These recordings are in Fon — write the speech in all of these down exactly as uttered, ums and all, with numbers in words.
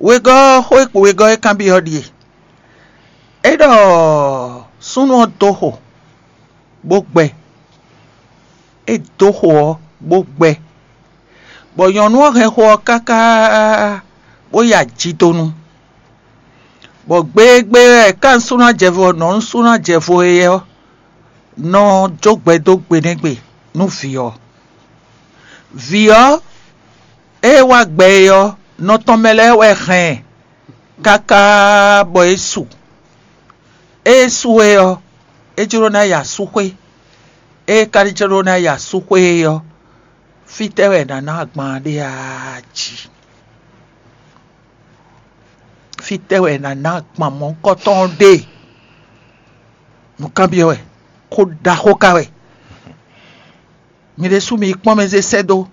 Wegɔ́ xó e kpo wegɔ́ e kanbyɔ́ ɖíe: é ɖɔ súnnu ɔ́ dó xo, bó gbɛ. É dó xo ɔ́, bó gbɛ, bɔ nyɔ̌nu ɔ́ hɛn xo ɔ́ káká, bó yi ajidonu. Bɔ gbegbé wɛ ká nǔsúnnú jɛvo ɔ́ nɔ nǔsúnnú jɛvo e ɔ́ nɔ jó gbɛ dó gbe nɛ́ gbe nú vǐ ɔ́. Vǐ ɔ́, ée wá gbɛ é ɔ́, nɔ tɔn mɛ lɛ́ɛ wɛ hɛn ɛ káká bɔ é su. Ée é su é ɔ́, é jló ná yi asúxwé. Ée é ka jló ná yi asúxwé é ɔ́, fítɛ́ wɛ è nǎ ná agban ɔ́ ɖe a jí? Fítɛ́ wɛ è nǎ ná agban mɔ̌hunkɔtɔn ɔ́ ɖe? Nǔkanbyɔ́ wɛ, xó ɖaxó ka wɛ. Mi ɖésú mi yi kpɔ́n mɛ zé sɛ́ dó.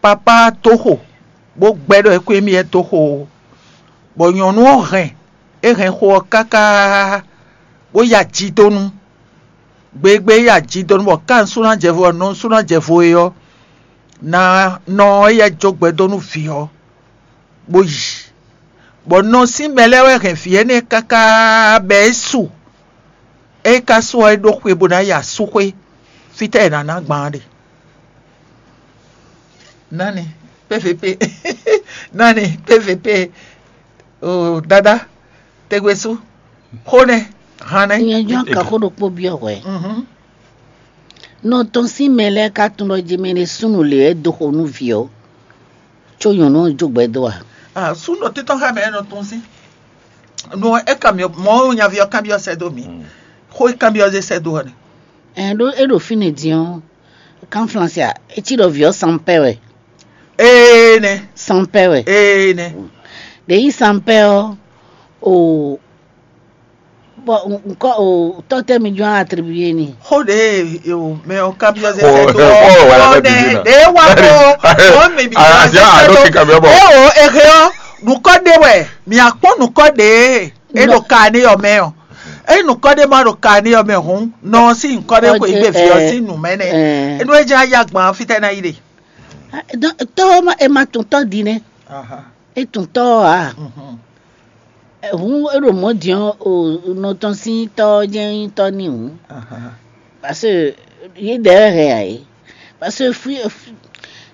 Papá dó xo, bó gbɛ́ ɖɔ é kú émí wɛ dó xo ó. Bɔ nyɔ̌nu ɔ́ hɛn, é hɛn xo ɔ́ káká, bó ya jidonu. Gbegbé ya jidonu bɔ ká nǔsúnnú jɛvo ɔ́ nɔ nǔsúnnú jɛvo é ɔ́, ná nɔ éyɛ́ jó gbɛ dó nú vǐ ɔ́, bó yi. Bɔ nɔ sín mɛ lɛ́ɛ wɛ hɛn vǐ énɛ́ káká bɔ é su. É ka su ɔ́, é ɖó xwe bó ná yi asúxwé. Fítɛ́ è nǎ ná gbǎn ɖe? Nani? P V P. Nani? P V P. O dada, tegbe sú. Xó nɛ́, han nɛ́. Nyɛ jɔ́n ka xó ɖokpó byɔ́ hwɛ. Mhm. Nɔ tɔn sín mɛ lɛ́ɛ ka tunwun ɖɔ jemɛ ɖé súnnu lě wɛ dó xo nú vǐ ɔ́, có nyɔ̌nu ɔ́ jó gbɛ dó a? Ah, súnnu títɔn xá mɛ nɔ tɔn sín. No é kanbyɔ́ mɔ̌ nyaví ɔ́ kanbyɔ́ sɛ́ dó mì. Xó é kanbyɔ́ zé sɛ́ dó ɔ́ nɛ. Ɛn ɖó é ɖo fínɛ́ din ɔ́, kan Flɛnsi a, é cí ɖɔ vǐ ɔ́ sanpɛ́ wɛ. Ee nɛ. Sanpɛ́ wɛ. Ee nɛ. Ɖě yí sanpɛ́ ɔ́, o bɔ nkɔ o tɔ́ tɛ́ mi jɔ́n atribué ni. Xó ɖě o mɛ ɔ́ kanbyɔ́ zé sɛ́ dó ɔ́. Xó wɛ la bɛ bìbí na. Ɖě wá kó ɔ́ mɛ bìbí na zé sɛ́ dó. Eo ehe ɔ́, nǔkɔ ɖé wɛ, mì akpɔ́n nǔkɔ ɖě é ɖo ka ní ɔ́ mɛ ɔ́. Ényí nǔkɔ ɖé ma ɖo ka ní ɔ́ mɛ hǔn, nɔ ɔ́ sín nyǐkɔ ɖé xwe gbe vǐ ɔ́ sín nǔ mɛ nɛ́. Énú é jlá yá gbɔn ɔ́, fítɛ́ ná yi ɖe? Tɔ́ ɔ́ ma- è ma tunwun tɔ́ din nɛ́. Aha. É tunwun tɔ́ ɔ́ ǎ. Mhm. Hǔn é ɖo mɔ̌ din ɔ́, o nɔ tɔn sín tɔ́ ɔ́ jɛ́n nyí tɔ́ n'i hǔn. Aha. Parce que yě ɖɛ̌ wɛ hɛn ǎ é. Parce que fí- fí-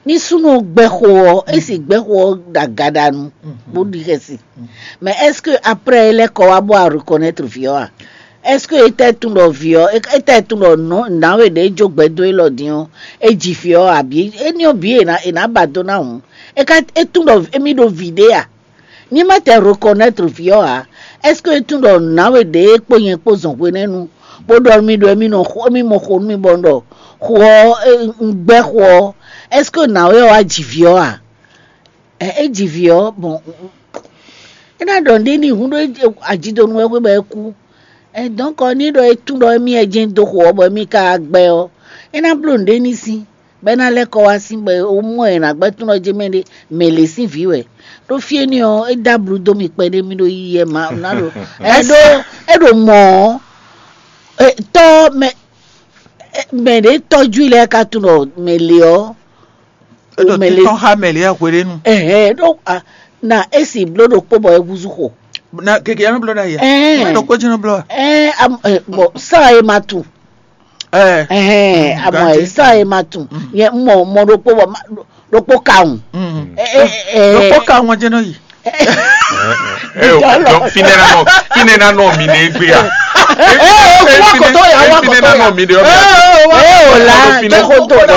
ní súnnu gbɛxo ɔ́, é sì gbɛxo ɔ́ ɖo agaɖanu bó ɖi xɛsi. Mais est-ce que après é lɛ́ kɔ wá bó wá reconnaître vǐ ɔ́ a? Est-ce que é tɛ́ tunwun ɖɔ vǐ ɔ́, é tɛ́ tunwun ɖɔ nɔ̌ nǎwe ɖě jó gbɛ dó élɔ́ din ɔ́, é ji vǐ ɔ́ abǐ? Éní ɔ́ bǐ è nǎ è nǎ ba dó ná hǔn. É ka é tunwun ɖɔ émí ɖo vǐ ɖé a? Ní ma tɛ reconnaître vǐ ɔ́ ǎ, est-ce que é tunwun ɖɔ nǎwe ɖě kpó nyɛ kpó zɔn hwenɛ́nu, bó ɖɔ nú mì ɖɔ émí nɔ xo émí mɔ xo nú mì bɔ un ɖɔ xo ɔ́ un gbɛ́ xo ɔ́, est-ce que nǎwe ɔ́ wá ji vǐ ɔ́ a? Ɛ é ji vǐ ɔ́, bɔn é ná ɖɔ nǔɖé n'i hǔn ɖó ajidonu wɛ xwé bɔ é kú. Ɛ dɔ̌nkɔ ní ɖɔ é tunwun ɖɔ émí wɛ jɛ́n dó xo ɔ́, bɔ émí ka gbɛ́ ɔ́, é ná bló nǔɖé n'i sín. Bɔ é ná lɛ́ kɔ wá sín bɔ é mɔ ɛ nǎ gbɛ́ tún ɔ́ jɛ mɛ ɖé, mɛ lě sín vǐ wɛ. Ɖó fí énɛ́ ɔ́, é dó ablu dó mì kpɛɖé mì ɖo yiyi ɛ ma ná ɖo. Ɛ ɖó é ɖo mɔ̌ ɔ́, tɔ́ mɛ mɛ ɖě tɔ́jú lɛ́ɛ ka tunwun ɖɔ mɛ lě ɔ́. É ɖo títɔn xá mɛ lě ɛ hweɖénu. Ɛhɛn ɖó na é si bló ɖokpó bɔ é húzú xo. Na gege ya nɔ bló ɖ'ayǐ. Ɛhɛn. Mɛ ɖokpó jí nɔ bló wa. Ɛhɛn, bɔn sá e ma tunwun. Ɛhɛn, amɔ e sá e ma tunwun. Nyɛ mɔ mɔ ɖokpó bɔ ɖokpó kawun. Ɖokpó kawun ɔ́ jɛ́n nɔ yi. Finɛ na nɔ finɛ na nɔ mi ne egbe ya. Ee, wa koto ya, wa koto ya. Finɛ na nɔ mi de. Ee, o la, jɛ koto bɛ.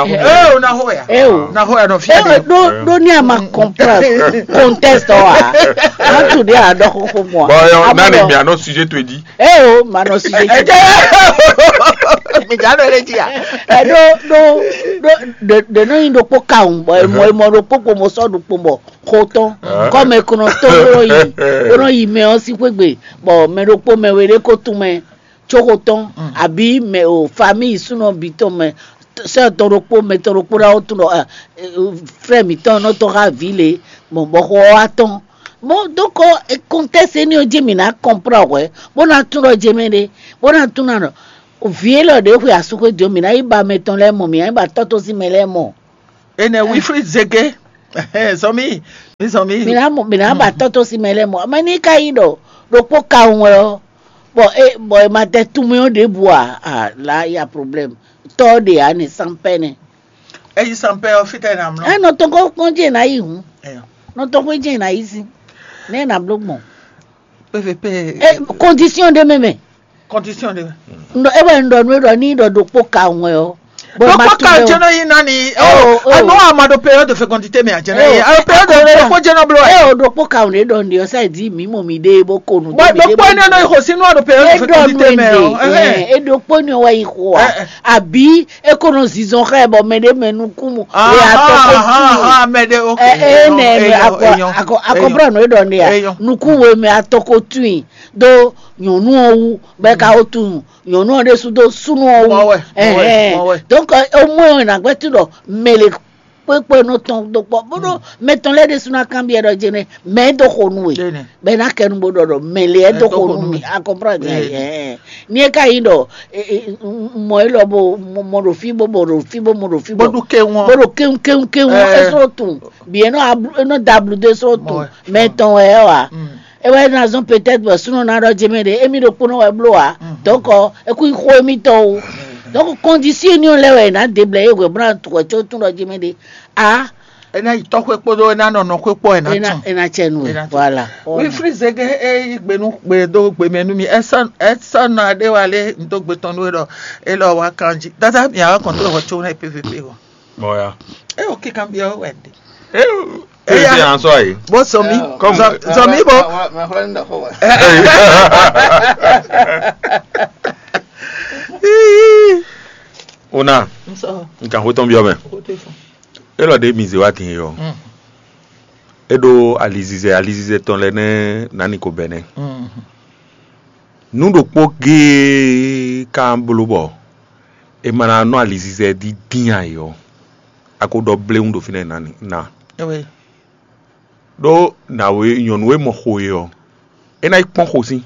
Ee, o na ho ya. Ee, o na ho ya nɔ fi. Ee, do do ni a ma comprendre contexte wa. An tu de a dɔ ko ko mo. Bon, yo, nani mi a nɔ sujet to di. Ee, o ma nɔ sujet to di. Mi ja nɔ ele ji ya. Ee, do do do de de no yin do kpo ka un, bɔ mo mo do kpo kpo mo sɔ do kpo bɔ. Xo tɔn kɔmɛ kɔnɔ tɔn bó nɔ yi bó nɔ yi mɛ ɔ́ sín xwé gbe, bɔ mɛ ɖokpó mɛ we ɖé ko tún mɛ có xo tɔn, abǐ mɛ o famíyi súnɔ bǐ tɔn mɛ, sɛ́ tɔn ɖokpó mɛ tɔn ɖokpó ná tún ɖɔ frɛ mǐtɔn nɔ tɔn xá vǐ lě, bɔ bɔ xɔ ɔ́ wá tɔn. Bon, donc contexte énɛ́ ɔ́ jí mǐ ná kɔnplɔ́n hwɛ̌ bó ná tún ɖɔ jɛ mɛ ɖé, bó ná tún ná ɖɔ vǐ élɔ́ ɖě xwe asú xwé dǒ, mǐ ná yi ba mɛ tɔn lɛ́ɛ mɔ, mǐ ná yi ba tɔ́ tɔn sín mɛ lɛ́ɛ mɔ. Enɛ Wilfried Zege. Sɔmi, mi sɔmi. Mina mo mina ba tɔtɔ si mɛ lɛ mɔ mɛ ni ka yi ɖɔ ɖokpo ka ŋu wɛ ɔ bɔ e bɔ e ma tɛ tu mɛ ɔ ɖe bu a a la ya problème tɔ ɖe a ne sanpɛ ne. Eyi sanpɛ ɔ fitɛ na mlɔ. Ɛ nɔ tɔn ko kɔn jɛ na yi hun Ɛyɔ. nɔ tɔn ko jɛ na yi si ne na blo gbɔn. P V P. E condition de mɛ mɛ Condition de. ndɔ e wɛ ndɔ nu e ɖɔ ni ɖɔ ɖokpo ka ŋu wɛ ɔ. Bɔ ma Ɖokpɔ tu ka lɛ jɛ o. Nɔ yi nani. Oh, oh. Anu ama ɖo période de fécondité mɛ a jɛ na yi. Oh, Alo période de oh, ɖokpɔ jɛ nɔ blo E ayi. O ɖokpo ka ŋu ne ɖɔ ndi ɔ sa di mi mɔ mi de bo ko nu. Bɔn ɖokpɔ ne nɔ yi xɔ sinu alo période de Eɖɔ nu fécondité mɛ ɔ. ende e ɖokpo ni wa yi xɔ a Eh, eh. Abi e ko nɔ zizɔn xɛ bɔ mɛ ɖe mɛ nukun mu e atɔ ko tu Aha, mɛ de ok. ɛ ɛ nɛ mɛ akɔ akɔ akɔ brɔ nɔ eɖɔ ne ya Eyɔn. Nukun we mɛ atɔ ko tu yi do nyɔnu ɔ wu bɛ ka o tu nyɔnu ɔ ɖe su do sunu ɔ wu Mɔ wɛ, mɔ wɛ, mɔ wɛ. Donc o mɔ ɛ na gbɛ tu ɖɔ mɛ le kpekpe nɔ tɔn do kpɔ bó ɖo mɛ tɔn lɛ ɖe su na kan biɛ ɖɔ jɛ nɛ mɛ do xo nu we Jɛ nɛ. Bɛ na kɛ nu bo ɖɔ ɖɔ mɛ le ɛ do xo nu mi a comprendre ɛ ni e ka yi ɖɔ mɔ e lɔ bo mɔ ɖo fi bo mɔ ɖo fi bo mɔ ɖo fi Bó ɖu ke wọn. Bó ɖo kéwú kéwú kéwú Ɛ. E sɔrɔ tun bi e nɔ ablu e nɔ da ablu de sɔrɔ tun Mɔ ɛ. Mɛ tɔn wɛ ɛ wa e wɛ na zɔn peut-être bɔ sunɔ na ɖɔ jɛ mɛ ɖe emi ɖo kponɔ wɛ blo wa donc e ku xo emi tɔn o donc condition ni lɛ wɛ na de blɛ ye wɛ bla tu wɛ tso tun ɖɔ jɛ mɛ ɖe a E na yi tɔxwe kpódó e na nɔ nɔxwe kpó e na ena tún. ena tsɛ nu E na wɛ tún. Voilà. Oui, Frizege e yi gbe nu gbe do gbe mɛ nu mi. Esa esa na ɖe wa le n do gbe tɔn nu e ɖɔ e lɔ wa kan jí. Dada mi awa kɔn tó lɔ tso na P V P o. Mɔya. E o kikan bi o wɛ de. Ee, ee, an sɔ ayi. Bo sɔmi. Comme- Sɔmi bo. Ona, Nsɔ. nkan xo tɔn biɔ mɛ. O te fun. E lɔ ɖe mi ze wa tin yɔ. E ɖo alizizɛ alizizɛ tɔn lɛ nɛ nani ko bɛnɛ. Nu ɖokpó géé kan bló bɔ e ma ná nɔ alizizɛ dídín ayɔ. A ko ɖɔ bléwún ɖo fínɛ́ nani na. Ewe. Ɖó nǎwe nyɔ̌nu e mɔ xo e ɔ́, é ná yi kpɔ́n xo sín,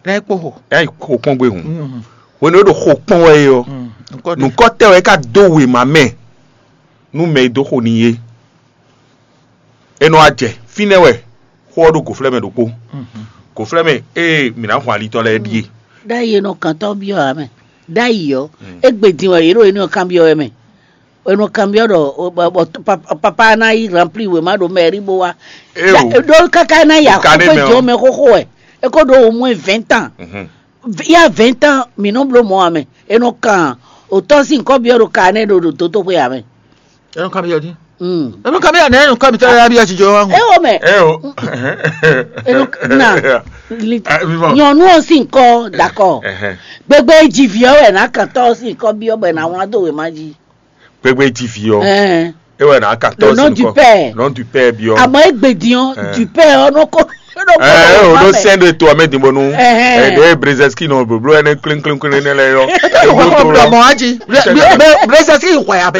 Lɛ kpó xo. é ná yi xo kpɔ́n gbé hǔn. Mm. Hwenu e ɖo xo kpɔ́n wɛ é ɔ́, Mm. Nkɔ de. Nǔkɔ tɛ́ wɛ é ká dó wěma mɛ nú mɛ e dó xo n'i é. É nɔ wá jɛ fínɛ́ wɛ xó ɔ́ ɖo gǒflɛ́mɛ ɖokpó. Gǒflɛ́mɛ ée mǐ ná hun alitɔ́ lɛ́ɛ ɖíe. Ɖ'ayǐ e nɔ kantɔ́ byɔ́ ǎ mɛ. Ɖ'ayǐ ɔ́, égbé din wɛ yě ɖo énɛ́ ɔ́ kanbyɔ́ wɛ mɛ. È nɔ kanbyɔ́ ɖɔ o- bɔ- bɔ pa- papa ná yi rempli wěma ɖo mɛ̌ri bó wá. Eo. Ɖó káká ná yi Ka ɖé axɔ́ mɛ ɔ́. jɔ mɛ xóxó wɛ. É ko ɖó au moins vingt ans. Mhm. Il y a vingt ans, mǐ nɔ bló mɔ̌ ǎ mɛ. È nɔ kan òtɔ́ sín kɔ́byɔ́ ɖo ka nɛ́ ɖo ɖo dótóxwé ǎ mɛ. Enu kan mi yɔ di. Mm. Enu kan mi yɔ nɛ enu kan mi tɛ ya bi ya jijɔ wa ŋu. Ewɔ mɛ. Eo. Enu na li- Ah, vivant. Nyɔnu ɔ sín kɔ dakɔ. Ɛhɛn. Gbegbe jiviyɔ wɛ na kantɔ sín kɔ biɔ bɛ na wla do wema ji. Gbegbe ji fi ɔ. Ɛɛ. E wɛ na ka Le nom du père. Non du père biɔ. Àmọ́ égbèdìyàn Ɛɛ. Du père ɔnɔ kɔ. Ɛɛ o ɖo sɛn ɖo to amɛ din bɔnu. Ɛhɛn. Ɛɛ ɖe brezɛski nɔ bloblo ɛnɛ klinklin nɛ lɛ yɔ. Ɔmɔ aji. Brezɛski yi xɔya bɛ.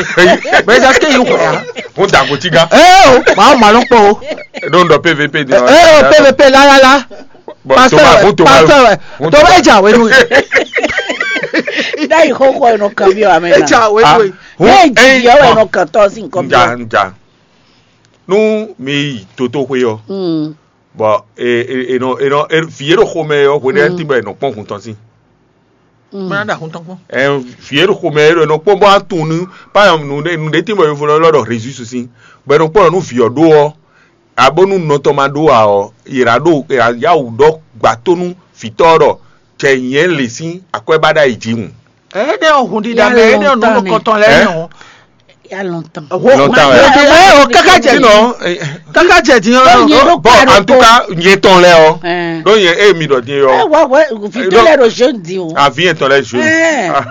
Brezɛski yi xɔya. Mo da ko tiga. Ee o maa ma lɔ kpɔ o. Ɖo ŋdɔ P V P din. Ee o P V P lalala. Bon, Pasteur Thomas, wɛ bon, Thomas. Pasteur wɛ. Thomas eja wenu. Dayi xɔxɔ ɛnɔ kan bi wa mɛ na. Eja wenu. Ne jiviyɔ wɛ ɛnɔ kantɔ sín kɔ Nja bi. Nja. Nu mi yi toto xwe yɔ. Mm. Bɔn e e e nɔ e nɔ e fi yɛ ɖo xomɛ yɔ xwe ɖe ti bɔ e nɔ kpɔn hun tɔn si. Mɛ na da hun tɔn kpɔn. Ɛ fi yɛ ɖo xomɛ yɛ ɖo e nɔ kpɔn bɔ atun nu pa nu ɖe nu ɖe ti bɔ yɔ fɔlɔ lɔ ɖɔ rezu susi bɔ e nɔ kpɔn nu fi yɔ ɖo ɔ abonu nɔtɔ ma ɖo a ɔ yira ɖo yira yawu ɖɔ gbatonu fitɔ ɖɔ cɛ nyɛ le si akwɛ ba ɖa yi ji ŋu. Ee ne o hun dida mɛ ee ne o nu kɔtɔn lɛ ne o. Ya longtemps. Longtemps, ouais. Ee o kaka jɛ Sinon, kaka jɛ di yɔ. Bon, bon, en tout cas, nyɛ tɔn lɛ ɔ. Ɛɛ. Donc nyɛ e mi dɔ nyɛ Ɛ yɔ. wa wɛ vite lɛ ɖo jeune di o. Avi yɛ tɔn lɛ jeune. Ɛɛ. Ah,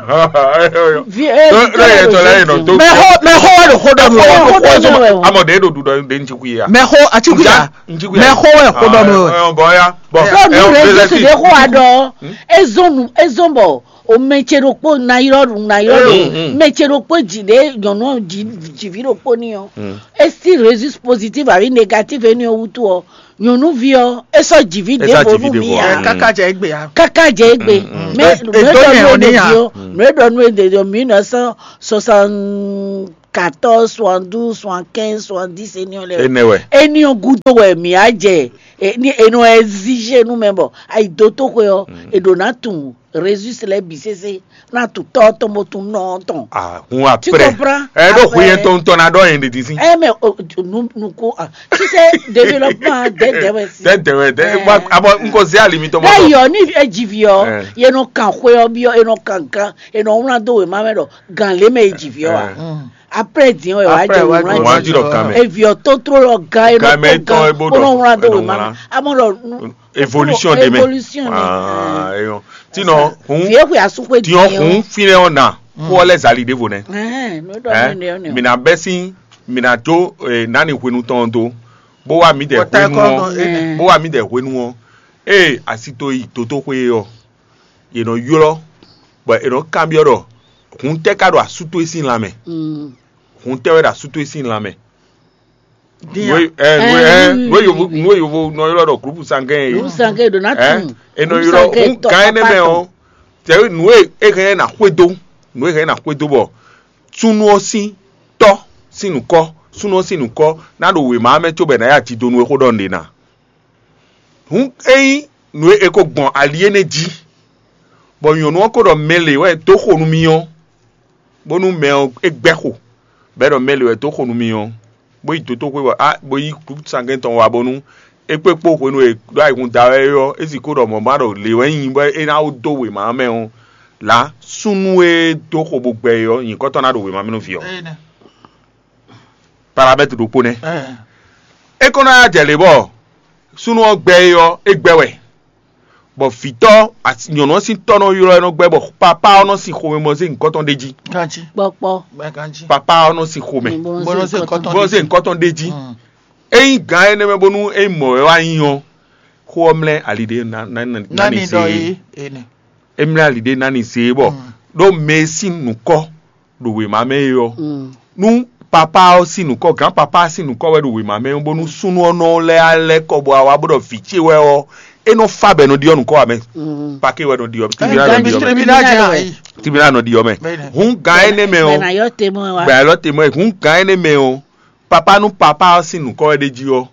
Vi- ɛ, Donc vite donc lɛ yɛ ɖo tɔn lɛ jeune yɛ nɔ di to. o. Mɛ xɔ mɛ xɔ wɛ ɖo xɔ dɔ mi Xɔ wɛ. dɔ mi wɛ o. Amɔ ɖe ɖo ɖuɖɔ ɖe ŋtsi kui ya. Mɛ xɔ ati kui ya. Ŋtsi kui ya. Mɛ xɔ wɛ xɔ dɔ mi wɛ. Bɔn ya. Bɔn Ɖo nu ɛ, ɖe ɛ, Jesu ɖe xɔ wa ɖɔ ezɔn nu ezɔn bɔ o mɛ tse ɖokpo na yrɔ ɖu na yrɔ ɖu Mm, mm. Mɛ tse ɖokpo dzi ɖe nyɔnu ɔ dzi dzivi ɖokpo ni ɔ Mm. Esi résus positif avi négatif eni ɔ wutu ɔ nyɔnuvi ɔ esɔ dzivi Esɔ ɖevo dzivi nu mi ɖevo, ya mm. Kaka jɛ egbe ya. Kaka dze egbe Mm, mm. Mais E- edo nɛ o ni ya. Nue ɖɔ nu ede ɖɔ mille neuf cent soixante quatorze, soixante-douze, soixante-quinze, soixante-dix éní ɔ́ lɛ́ɛ. Énɛ́ wɛ. Éní ɔ́ gúdo wɛ mǐ á jɛ. Éní énɔ ɛ zí zé nú mɛ bɔ ayi dó tó xwe ɔ́, è ɖǒ ná tunwun résus lɛ́ɛ bǐ sésé, ná tunwun tɔ́ tɔn bó tunwun nɔ tɔn. Ahun Tu après. Comprends? Ɛ ɖo hu yɛn tɔn tɔn na ɖɔ yɛn ɖe dín sí. Ɛ mɛ, nukó, tu sais, développement dɛdɛ wɛ si. Tɛ dɛwɛ tɛ. Abɔ n ko zé ali mi tɔmɔ. D'ailleurs ni e dzi vi ɔ, yɛ nɔ kan xwe ɔ bi ɔ, yɛ nɔ kan gan, yɛ nɔ wlán dó wěma mɛ ɖɔ gan lé mɛ e dzi vi ɔ wa. Après din ɔ, yɛ wá jɛ wlán. Wọ́n á jí lọ kan mɛ. Evi ɔ tó tró lɔ gan, yɛ nɔ tó gan, kó nɔ wlán dó wěma mɛ. Amɔ ɖɔ. Évolution de mɛ. Évolution de mɛ. Ah, eyɔn. Tinɔ hun. Vieux xwe asu xwe din ɔ. Hun finɛ ɔ na. Kó ɔ lɛ zali ɖevo nɛ. Ɛhɛn, no ɖɔ mi ne ɔ ne. Mina bɛ sin, mina jo eh, nani hwenu tɔn do. Bó wá mi dɛ hwenu ɔ. Bó wá mi dɛ hwenu ɔ. Ee asito yi dotoxwe ɔ. Yě nɔ ylɔ́, bɔ è nɔ kanbyɔ́ ɖɔ hun tɛ́ ka ɖo asú towe sín lanmɛ? Hun tɛ́ wɛ ɖo asú towe sín lanmɛ? Nú e yovo nɔ ylɔ́ ɖɔ groupe sanguin é. Groupe sanguin ɖo ná tun. È nɔ ylɔ́ hun gán énɛ́ mɛ ɔ́, tɛ̌ nǔ e é hɛn ná xwedó, nǔ e hɛn ná xwedó bɔ súnnu ɔ́ sín tɔ́ sín nǔkɔ, súnnu ɔ́ sín nǔkɔ ná ɖo wěma mɛ cóbɔ è nǎ ya jidonu e xó ɖɔ nǔɖé ná. Hǔn ényí nǔ e è ko gbɔn ali énɛ́ jí, bɔ nyɔ̌nu ɔ́ ko ɖɔ mɛ lě wɛ dó xo nú mì ɔ́, bónú mɛ ɔ́ é gbɛ́ xo, bɔ é ɖɔ mɛ lě wɛ dó xo nú mì ɔ́, bó yi dotóxwé bɔ á bó yí gǔpútú sangɛ́n tɔn wá bónú é kpé kpó hwenu e ɖó ayihún da wɛ é ɔ́, é sixú ɖɔ mɔ̌ ma ɖɔ lě wɛ nyí bɔ é ná dó wěma mɛ ɔ́, lǎ súnnu e dó xo bó gbɛ é ɔ́, nyǐkɔ tɔn ná ɖo wěma mɛ nú vǐ ɔ́. Paramètre ɖokpó nɛ́. É kɔn ná jɛ lě bɔ súnnu ɔ́ gbɛ é ɔ́, é gbɛ wɛ, bɔ vǐtɔ́ nyɔ̌nu ɔ́ sín tɔ́ nɔ ylɔ́ ɛ nɔ gbɛ, bɔ papá ɔ́ nɔ sin xomɛ bɔ zé nyǐkɔ tɔn ɖ'é jí. Ganjí. Kpɔkpɔ. Bɛ ganjí. Papá ɔ́ nɔ sin xomɛ. Bó nɔ zé nyǐkɔ tɔn. Bó nɔ zé nyǐkɔ tɔn ɖ'é jí. Ényí gǎn énɛ́ mɛ bónú é mɔ wɛ wá nyi ɔ́, xó ɔ́ mlɛ́ ali ɖé ná ná ná ní se é. É mlɛ́ ali ɖé ná ní se é bɔ ɖó mɛ e sín nǔkɔ ɖo wěma mɛ é ɔ́, nú papá ɔ́ sín nǔkɔ, gǎn papá ɔ́ sín nǔkɔ wɛ ɖo wěma mɛ ɔ́, bónú súnnu ɔ́ nɔ lɛ́ alɛ́ kɔ bɔ wá bó ɖɔ vǐ ce wɛ ɔ́, é nɔ fá bɔ è nɔ ɖiɔ nǔkɔ ǎ mɛ. Paké wɛ nɔ ɖiɔ mɛ, tribunal nɔ ɖiɔ mɛ. Tribunal nɔ ɖiɔ mɛ. Hǔn gǎn énɛ́ mɛ ɔ́, gbɛ alɔ te mɔ ɛ. Hǔn gǎn énɛ́ mɛ ɔ́, papá nú papá ɔ́ sín nǔkɔ wɛ ɖ'é jí ɔ́,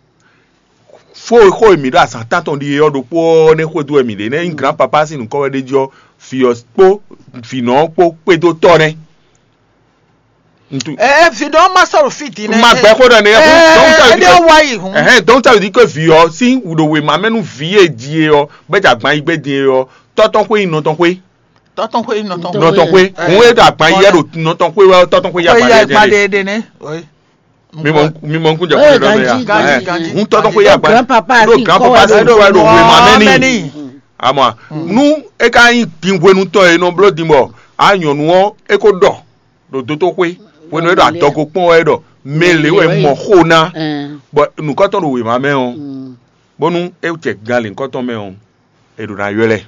fó xó e mǐ ɖo azǎn tántɔn ɖi é ɔ́ ɖokpó ɔ́ nɛ́ xwedó wɛ mǐ ɖe nɛ́ nyí gǎn papá sín nǔkɔ wɛ ɖ'é jí ɔ́, vǐ ɔ́ kpó vǐnɔ ɔ́ kpó kpédó tɔ́ nɛ́. Ntu. Ɛ vǐ ɖɔ ma sɔ̀rọ̀ fí din nɛ. Ma gbɛ xó ɖɔ nɛ. Ɛ ɛ ɖe wa yi hun. Ɛhɛn, donc ça veut dire que vǐ ɔ́ sín ɖo wěma mɛ nú vǐ e ji e ɔ́, bɛ jɛ agban yi gbé din e ɔ́, tɔ́tɔ́n xwé nyi nɔtɔn xwé. Tɔ́tɔn xwé nyi nɔtɔn. Nɔtɔn xwé. Hun e ɖo agban yi yɛ ɖo nɔtɔn xwé wɛ tɔ́tɔn xwé yi agban yɛ din. Ɖe nɛ. Mi mɔ mi mɔ nkun jɛ xwé ɖɔ mɛ ya. Hun tɔ́tɔn xwé yi agban. Ɖo grand papa si kɔ wɛ ɖo wěma mɛ ni. Amɔ nu e ka nyi din hwenu tɔn e nɔ bló din bɔ a nyɔ̌nu ɔ́ e ko ɖɔ ɖo dótóxwé hwenu e ɖo adɔgo kpɔ́n wɛ ɖɔ mɛ lě wɛ mɔ xó ná bɔ nǔkɔtɔn ɖo wěma mɛ ɔ́ bónú é jɛ gan lě nukɔtɔn mɛ ɔ́ è ɖo ná ylɔ́ ɛ.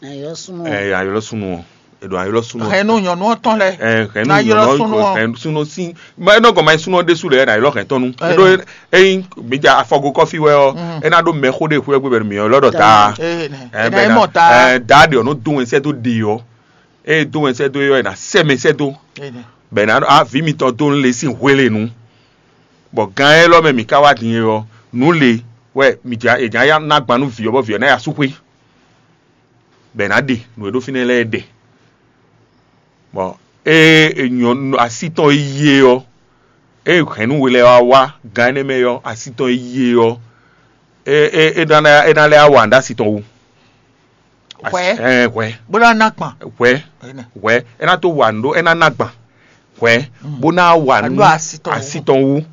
Ɛ aylɔ súnnu ɔ́ è ɖo aylɔ súnnu ɔ́. Hɛn nú nyɔ̌nu ɔ́ tɔn lɛ. Ɛ hɛn nú nyɔ̌nu ɔ́ hɛn súnnu sín. Mɛ nɔ gɔn ma súnnu ɔ́ ɖésú lɛ ɛ ná ylɔ hɛn tɔn nu. Ɖó eyin mi ja afɔgo kɔfí wɛ ɔ́ é ná ɖó mɛ xó ɖé xwé gbé bɛ mi ɔ́ lɔ́ ɖɔ taa. Ɛ bɛ ná ɛ daa ɖe ɔ́ nɔ dó wɛn sɛ́ dó ɖe ɔ́. Eye dó wɛn sɛ́ dó é ɔ́ è nǎ sɛ́ mɛ sɛ́ dó. Bɛ ná ɖɔ a vǐ mitɔn dó nú le sín hwe le nu. Bɔ gán élɔ́ mɛ mǐ ka wá din é ɔ́, nǔ le wɛ mǐ jǎ è jǎ ná gban nú vǐ ɔ́ bɔ vǐ ɔ́ ná yi asúxwé. Bɔ è nǎ ɖe nǔ e ɖó fínɛ́ lɛ́ɛ ɖɛ. Bɔ ée è nyɔ así tɔn e yí é ɔ́, ée hɛ̌nnu we lɛ́ɛ wá wá gán énɛ́ mɛ ɔ́, así tɔn e yí é ɔ́, é é é ná lɛ́ é ná lɛ́ wá wa nǔ ɖó así tɔn wú. Hwɛ. Ɛɛ hwɛ. Bó ná ná gbɔn. Hwɛ. Hwɛ é ná tó wa nǔ ɖó é ná ná gbɔn. Hwɛ bó ná wa nǔ así tɔn wú.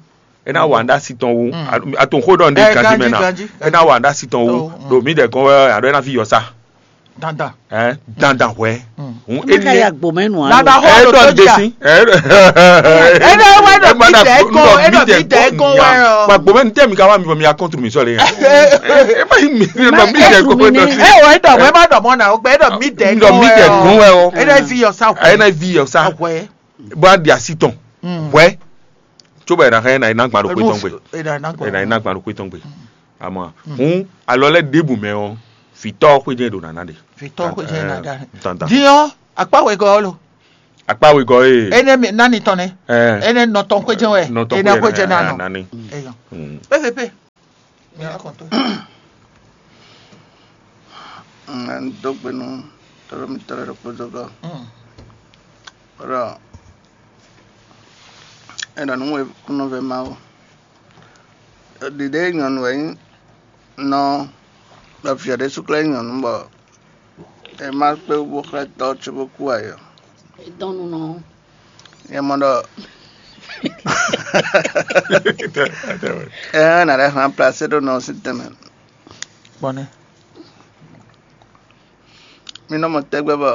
É ná wa nǔ ɖó así tɔn wú. Atonxó ɖɔ nɖé ganjí mɛ ná. É ná wa nǔ ɖó así tɔn wú. Ɖo mǐ ɖɛ gɔn wɛ aɖɔ é ná ví yɔ sá. Dandan. Ɛ dandan hwɛ. Hun ene. Lada hɔ ɛ ɖɔ ɖo nɖé tódza. Si. Ɛ Ene wɛ ɖɔ mi dɛ kɔ, e ɖɔ mi dɛ kɔ wɛ ɔ. Gba gbɔmɛ ntɛ mi ka wa mi fɔ mi ya kɔntru mi sɔle. E ma yi mi nɔ mi dɛ kɔ wɛ nɔ. E wɔ e ɖɔ mɛ ma ɖɔ mɔ na o gbɛ e ɖɔ mi dɛ kɔ wɛ ɔ. Nɔ mi dɛ kɔ wɛ ɔ. E ɖɔ vi yɔ sa. E na vi yɔ sa. Hwɛ. Bó a di asi tɔn. Hwɛ. Tso bɛ e na hɛn na e na gba ɖo kpe tɔn gbe. E na e na gba ɖo kpe tɔn gbe. Amɔ hun alɔ lɛ ɖebu mɛ ɔ, vitɔ xwedze ɖo nana ɖe. Vitɔ xwedze nana ɖe. Dandan. Diɔ akpa wɛ gɔ lo. Akpá wegɔ́ e. Énɛ́ mi nani tɔn nɛ́. Ɛ. Énɛ́ nɔ tɔn xwéjɛ wɛ. Nɔ tɔn énɛ́ xwéjɛ xwéjɛ nanu. Nani. Eyɔ. Mm. Pépépé. Mi wá kɔn tó. Dó gbe nú tɔ́ɖɔ́ mitɔ́ lɛ́ɛ ɖokpó dó gɔ́. Ɖɔ é ɖɔ nǔ e kúnnɔ́ vɛ́ Mawu. Ɖiɖe nyɔ̌nu wɛ nyí nɔ ɖɔ vǐ ɔ́ ɖésú klɛ́ nyí nyɔ̌nu bɔ è má kpé wú bó xlɛ́ tɔ́ cóbó kú ǎ é ɔ́. Dɔn nú nɔ. Nyɛ mɔ ɖɔ ɛ nǎ lɛ́ hlan plasé ɖó nɔ sín tɛnmɛ. Kpɔnɛ. Mi nɔ mɔ tɛgbɛ bɔ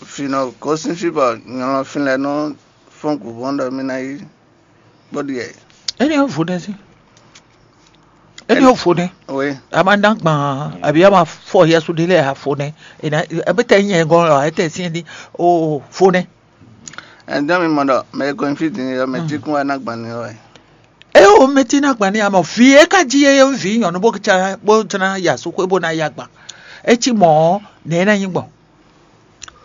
fǐ nɔ gosín fí bɔ nyɔlɔnfin lɛ́ɛ nɔ fɔ́n gǔvɔ́n ɖɔ mì ná yi bó ɖi ɛ. Éní ɔ́ vo nɛ́ sí. Éní ɔ́ vo nɛ́. Oui. A ma ná gbɔn àbí a ma fɔ yɛsu ɖé lɛ a vo nɛ́. Ena ebe tɛ nyɛ gɔn lɔ ete si di o vo nɛ́. Ɛn dɔn mi mɔ ɖɔ mɛ e gɔn fí din ɔ́ mɛ tí kún wá ná gbɔn ni ɔ́ wɛ. E o mɛ tí ná gbɔn ni amɔ vi e ka jí e vǐ nyɔ̌nu bó jlá bó jlá yasu xwé bó ná yá gbɔn. E cí mɔ̌ nɛ̌ ná nyí gbɔn.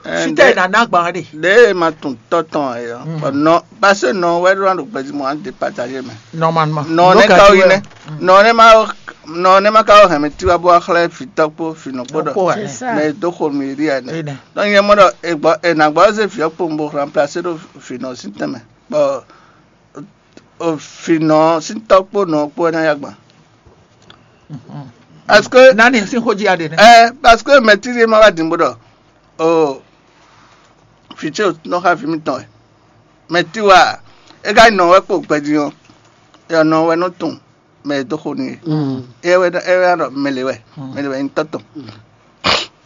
Fítɛ́ è nǎ ná gbǎn ɖe? Ɖěe ma tunwun tɔ́ tɔn ɛ ɔ́, bɔ nɔ pase nɔ wɛ ɖó ná ɖo gbɛjimɔ á depatagé mɛ. Normalement. Nɔ nɛ ka wí nɛ. Nɔ nɛ ma nɔ nɛ ma ka wɔ hɛn mi tiwa bó wá xlɛ́ fǐtɔ́ kpó fǐnɔ kpó ɖɔ. Mɛ e dó xo nú yě ɖi ɛ nɛ. Nɔ nyɛ mɔ ɖɔ è gbɔ è nǎ gbɔ zé fǐ ɔ́ kpowun bó remplacer ɖo fǐnɔ sín tɛnmɛ, bɔ fǐnɔ sín tɔ́ kpó nɔ kpó wɛ ná yá gbɔn. Parce que nani sín xó jí aɖe nɛ. Ɛ parce que mɛ tí ɖé ma wá din bó ɖɔ o fǐ ce nɔ xa vǐ mitɔn wɛ. Mɛ tí wa é ka nɔ wɛ kpo gbɛjí ɔ́, é nɔ wɛ nɔ tunwun mɛ e dó xo n'i é. É wɛ é wɛ ɖɔ mɛ lě wɛ, mɛ lě wɛ nyí tɔ́ tɔn.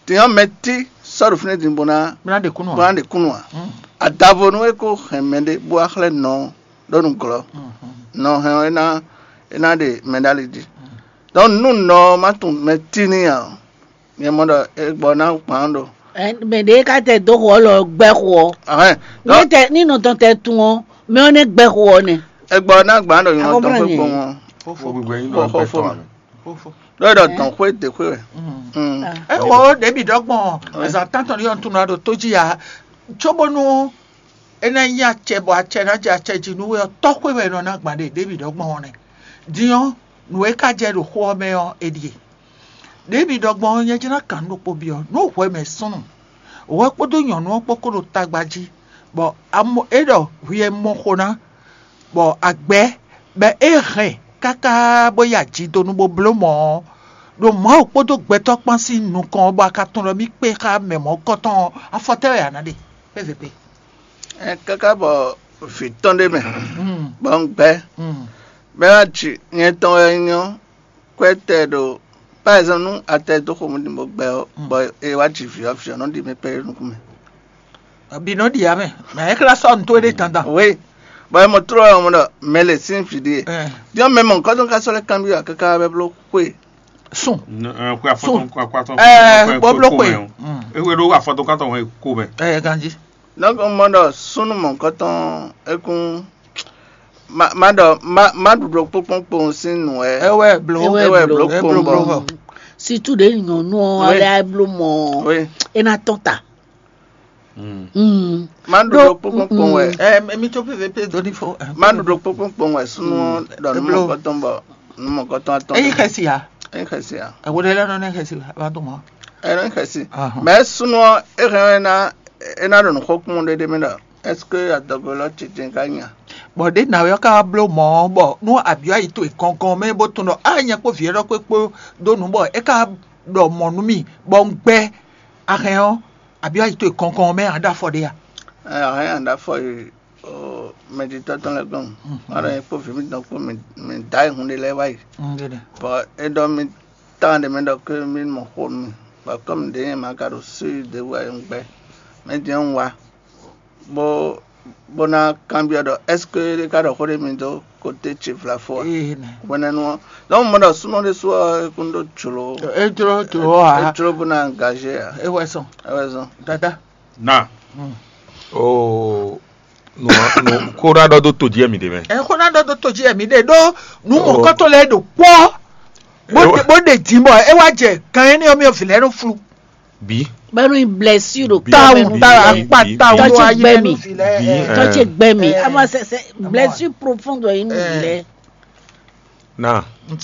Din ɔ́ mɛ tí sɔ́ ɖo fínɛ́ din bó ná Bó ná ɖe kúnnu bó ná ǎ. Ɖe kúnnu ǎ. Adavonu é kó hɛn mɛɖé bó wá xlɛ́ nɔ ɔ́ ɖó nǔglɔ́. Nɔ hɛn ɔ́ é ná é ná ɖe mɛ ɖó ali jí. Donc nú nɔ ɔ́ má tunwun mɛ tí n'i ǎ ɔ́, nyɛ mɔ ɖɔ é gbɔ ná gbǎn ɖo. Mɛ ɖě ka tɛ dó xo ɔ́ lɔ gbɛ́ xo ɔ́. Ahɛn. Ní tɛ ní nɔ tɔn tɛ tun ɔ́, mɛ ɔ́ nɛ́ gbɛ́ xo ɔ́ nɛ. É gbɔ ná gbǎn ɖo nyɔ̌ tɔn xwé kpɔ́n ɔ́. Fofo. Gbogbo ẹ̀yin Xɔ- náà xɔ gbẹ fo tán mɛ. Àmì. Fofo. Lórí ɖɔ dɔn xwé dé xwé wɛ. Mm. Ɛ xɔ ɖěbǐ ɖɔgbɔn azǎn tántɔn ní yɔn tún ná ɖo tó jí ya cóbónú é ná nyí acɛ bɔ acɛ ná jɛ acɛ jí nú we ɔ́ tɔ́ xwé wɛ nɔ ná gbǎn ɖe ɖěbǐ ɖɔgbɔn ɔ́ nɛ. Din ɔ́, nǔ e ka jɛ ɖo xó ɔ́ mɛ ɔ́, è ɖíe. Ɖěbǐ ɖɔgbɔn ɔ́, nyɛ jlá kan nú ɖokpó byɔ́ nú hwɛ mɛ súnnu, hwɛ kpódó nyɔ̌nu ɔ́ kpó kó ɖo tagba jí, bɔ amo é ɖɔ hwi e mɔ xo ná, bɔ agbɛ̌ bɔ é hɛn káká bó yi ajidonu bó bló mɔ̌ ɔ́, ɖo Mawu kpódó gbɛtɔ́ kpán sín nukɔn ɔ́, bɔ a ka tunwun ɖɔ mì kpé xá mɛ mɔ̌kɔtɔn ɔ́, afɔ tɛ́ wɛ a nǎ ɖe? Xwé vepé. Ɛ káká bɔ vǐ tɔn ɖé mɛ, bɔ un gbɛ́, bɔ é wá ji nyɛ tɔn wɛ nyí ɔ́, kwɛ́ tɛ ɖo par exemple nú a tɛ dó xomɛ ɖi bó gbɛ ɔ́, bɔ è wá ji vǐ ɔ́, vǐ ɔ́ nɔ ɖi mɛ kpɛɖé nukún mɛ. Bǐ nɔ ɖi ǎ mɛ, mɛ é xlá sɔ́ nǔ towe ɖé dandan. Oui, bɔ é mɔ tló ɔ́ mɔ ɖɔ mɛ lě sín vǐ ɖíe. Ɛ. Din ɔ́ mɛ mɔ̌hunkɔtɔn ka sɔ́ lɛ́ kanbyɔ́ ǎ káká wá bɛ́ bló xwe. Sùn. Xwe afɔtɔn xwe afɔtɔn Ɛ, bó bló xwe. É xwe ɖó afɔtɔn kántɔn wɛ ko mɛ. Ɛ, ganjí. Donc mɔ ɖɔ súnnu mɔ̌hunkɔtɔn é kún má má ɖɔ má má ɖuɖu kpókpókpó sín nǔ wɛ. É wɛ bló. É wɛ É wɛ bló. Bló É bló kpowun bló bɔ. Vɔ. Situ ɖe nyɔnu ɔ́ Oui. Lɛ bló mɔ Oui. É ná tɔn ta. Mm. Má ɖuɖu kpókpókpó wɛ. Ɛ, mi tó pépé dó ní fo. Má ɖuɖu kpókpókpó wɛ súnnu ɔ́ ɖɔ nú Bló. Mɔkɔtɔn bɔ nú mɔkɔtɔn atɔn. Eyi xɛsi ya. Eyi xɛsi ya. Ewo ɖe lɛ nɔ ne xɛsi wa ba dɔn mɔ. Ɛ nɔ xɛsi. Ahɔn. Mɛ súnnu ɔ́ é hɛn ɛ ná é ná ɖo nǔ xó kún ɖéɖé mɛ ɖɔ est-ce que adɔgo lɔ tete ka nya? Bɔ ɖé nǎwe ɔ́ ka wá bló mɔ̌ bɔ nú abyɔ́ ayi towe gɔngɔn mɛ bó tunɔ á nyɛ kpó vǐ élɔ́ kpé kpó dó nǔ bɔ é ka ɖɔ mɔ̌ nú mì bɔ un gbɛ́ ahɛn ɔ́, abyɔ́ ayi towe gɔngɔn mɛ ǎ ɖo afɔ ɖé a? Ɛ ahɛn ǎ ɖo afɔ yi o mɛjitɔ́ tɔn lɛ́ɛ gɔ́n. Má ɖɔ nyɛ kpó vǐ mitɔn kpó mi mi dǎ yi hun ɖé lɛ́ɛ wá yi. Un ɖe ɖe. Bɔ é ɖɔ mì tán ɖé mɛ ɖɔ ké mì mɔ xo nú mì. Bɔ kɔ́mi ɖě nyɛ ma ka ɖo súi ɖě wú ɛ un gbɛ́. Mɛ jɛ́n un wá. Bó bó ná kanbyɔ́ ɖɔ est-ce que é ka ɖɔ xó ɖé mi dó côté ce vlafo a? Ee nɛ. Hwenɛ́nu ɔ́, donc mo ɖɔ súnɔ ɖé sú ɔ́ é kún ɖó jlǒ. É jló jlǒ a? É jló bó ná engagé a? É wɛ sɔn. É wɛ sɔn. Dada. Na. Oo, nù nù kó ná ɖɔ dó to jí ɛmì ɖé mɛ. Ɛ xó ná ɖɔ dó to jí ɛmì ɖé ɖó nú mɔ̌kɔtɔn lɛ́ɛ ɖo kpɔ́ bó ɖe bó ɖe dín bɔ é wá jɛ gan énɛ́ ɔ́ mì ɔ́ vǐ lɛ́ɛ nɔ flu. Bǐ. Bɛnu blessure ɖo Tawu kɔmɛ tawu nu. akpa tawu Tɔn ɖo ce ayi gbɛ mɛ mi. nu fi lɛ. Bi, Ɛ, Tɔn ce eh. gbɛ mi. Eh, Ama moi. c'est c'est blessure profonde ɖo yin nu Eh. lɛ. Na.